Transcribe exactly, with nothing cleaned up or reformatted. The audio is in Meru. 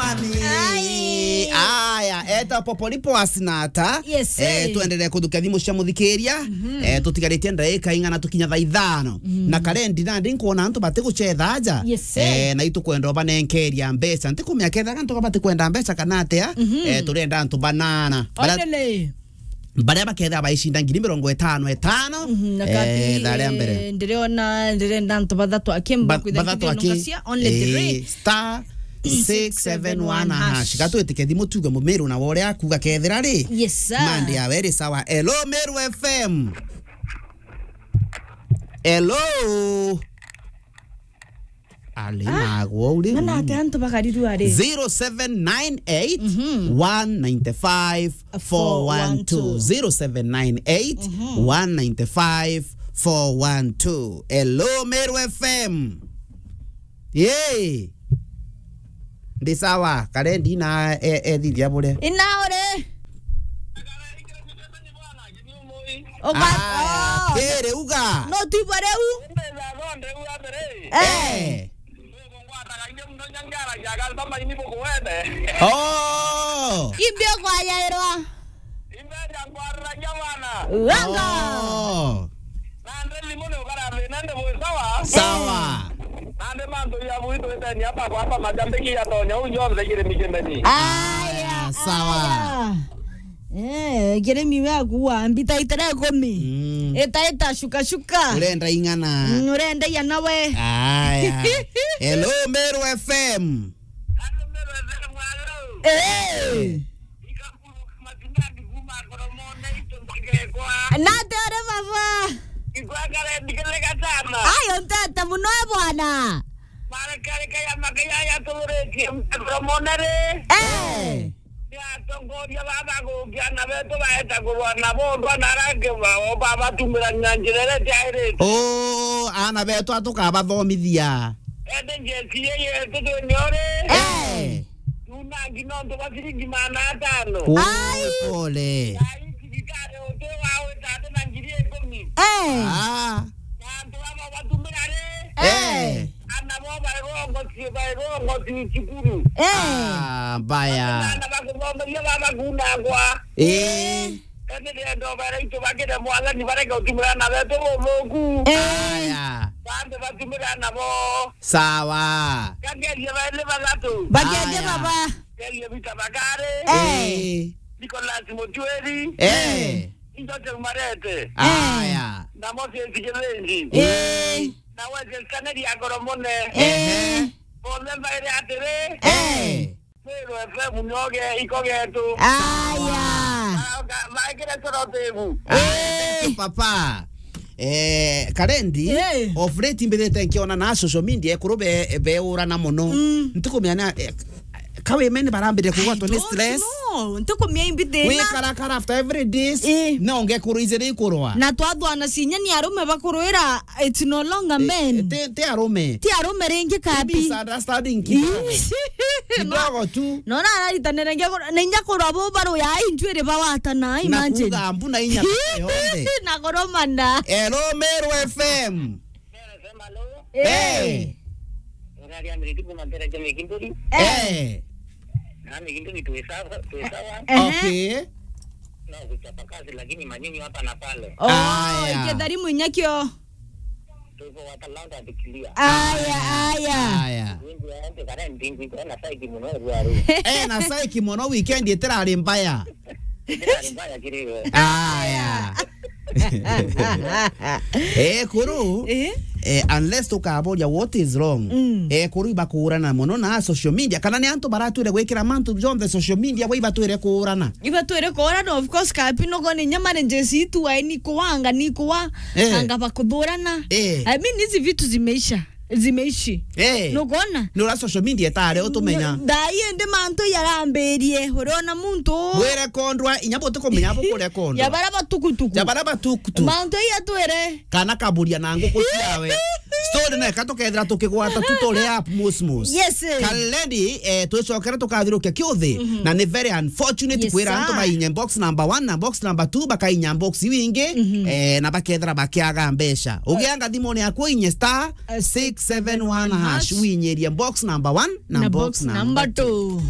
Ai. Aya, eta Popolipo Asinata. Yes, eh, eh. Tuendelee kuthukia thimu cia muthikiria. Mhm. Eh, tutigaritie ndagika ing'ana tukinya thaa ithano. Mm. Na karendi nandi nkwona antu bati gucetha aja. Yes, eh. Eh, na itukwenda ubanenkeria mbeca. Ntikumenya kethaga antu bati kwenda mbeca kana atia. Mhm. Eh, turenda antu banana. Bara- Onele. Baria bakethira baicinda ngiri mirongo itano itano, mhm, na eh, kabi, thaa ria mbere. Eh, ndiriona, ndirenda antu bathatu aki. Ba-, mbakwitha bathatu aki. Nungacia, only three. Eh, star six seven one hash. Gatwitike thimu tuge Mumiru na wore akuga kethira ri. Yes, sir. Mandi yawe ri sawa. Hello, Meru F M. Hello. Ali, ah, nagwo uri. Mana ate antu bakarirua ri? Zero seven nine eight, one nine five, four one two. Zero seven nine eight, one nine five, four one two. Hello, Meru F M. Yay. Ndi sawa, karendi na e-, ethithia buria. Ina uri? Uga-, aya, oh. Kiri uga. No tuibwa riu? Eh. Eh. Oh. Imbi ukwayairwa? Wanga. Oh. Nandi thimu ni ukara thina ndi bwi sawa. Sawa. Nandi mantu ya bui twiteni hapa kwa hapa majambiki ya tonya u jonthe kiri mikimeni. Aya, sawa. Aya. Eh, kirimi we akuwa mbita itara ikumi. Mm. Ita, ita, shuka, shuka. Urenda ing'ana. Mm, urenda iya nawe. Aya. Hello, Meru F M. Hello, Meru F M, hello. Eh. Nate ore baba. Ayo ntete muno e bwana. Eh. Ni atongoria baba gukia ana betu baeta kurwa na bondwa na rangi bao babatumira na njira iria itiairite. Oo, ana betu atukabathomithia. Ende njeci ii yetu twinio ri? Eh. Tunangi nontu bwa ciringi magana atano. Ai. Pole. Ai, thirikari uti wa wita ati na ngiri ikumi. Eh. Ah. Na antu baba batumira ri? Eh. Ana bo baigongotie, baigongotie cukuru. Eh. Ah, mbaya. Ana bakuthomeria baba kunangwa. Eh. Ende ndenda ubera itu bakire mwathani bareke utumira ana betu buthuku. Eh. Aya. Bambe batumira ana bo. Sawa. Gakerie baili bathatu. Bakerie baba. Gakerie Peter Bakari. Eh. Nicholas Mutuiri. Eh. Joseph Marete. Aya. Na Moses Kibenji. Eh. Na Wesley Kaneri Akoromone. Eh. Bonthe mbaire atiri. Eh. Meru F M nyoge iko getu. Aya. Ba-, ba-, baikire coro tebu. Eh. Papa. Eh, Karendi, eh, of late mbithite nkiona na social media ekuru be, beurana muno. Mm. Ntikumenya, eh, ka women barambire kugwatwa ni stress. No, ntikumenya imbithina. Wikarakara after every days, eh, no ngekuru ijiri ikurwa. Na twathwana cinya ni arume bakurwira, it's no longer, eh, men. Ti, ti arume. Ti arume ringi kabi. Misunderstanding kidogo. Ii. Kidogo tu. No, no, na araritanira ngiakorwa, na inya korwa bo baruya, ai, ntwiri bawatana, imagine. Na kuga mbu na inya yonthe. Na koromana. Hello, Meru F M. Eh. Eh. Unaria miriti kuma mpera cha Mikinduri. Eh. Eh. Na Mikinduri tuwe sawa, tuwe sawa. Ehe. Okay. Na kuchapa kazi, lakini manyunyu hapa na pale. Oh, aya. Ikethari munyakio. Tuko watalanta tukilia. Aya, aya. Aya. Wingi ya ente kana ndingi kwa na saiki muno rwaru. Eh, na saiki muno weekend itirari mbaya. Itirari mbaya kiriwe. Aya. Eh, kuru. Eh? Eh, unless tukaboria what is wrong. Mm. Eh, kuru ibakurana muno na social media. Kana ni antu baratwire gwikira mantu jonthe social media, we ibatwire kurana. Ibatwire kurana, of course, kapi no gone nyamare njesi itu wa ni kuwanga ni kuwa. Eh. Anga bakuthurana. Eh. I mean, hizi vitu zimeisha. Zimeishi. Eh. Nukona? Nura social media tare utumenya. Thaa ii ndi mantu yarambirie. Uriona muntu? Wire kondwa, inya buti kumenya bukurekondwa. Ya bara batukutuku. Ya bara batukutuku. Mantu iya twire. Kana kaburia na nguku ciawe. Story na eka tukethira tukigwata tu turi up mus mus. Yes, eh. Kalendi, eh, twicokera tukathirukia kiuthi. Na ni very unfortunate. Yes, kwira antu mainye box number one na box number two, bakainya box iu ingi, eh, na bakethira bakiaga mbeca. Ugianga thimuni yaku inye star six seven one hash, winyirie box number one na box number two.